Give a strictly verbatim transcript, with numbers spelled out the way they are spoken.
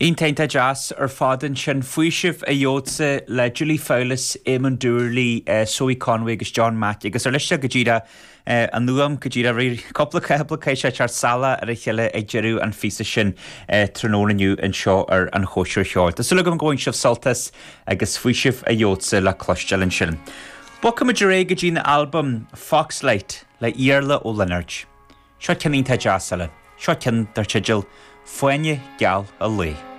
Iontach deas ar fad ansin faoiseamh a gheobhadsa le Julie Fowlis, Eamon Doorley, uh, Zoe Conway agus John Mack agus ar leis go dtí an uaim go dtí cúpla cúpla sé tear sala ar a chéile ag deireadh an phíosa sin tráthnóna inniu anseo ar an Chóisir Cheoil. Tá súil agam go bhfuil sibh sult as agus faoiseamh a gheobhadsa le cloisteáil ansin. Bogfaimid ar aghaidh go dtí an albam Foxlight le Iarla Ó Lionáird. Seo ceann iontach deas eile, seo ceann dar teideal Fáinne Geal an Lae.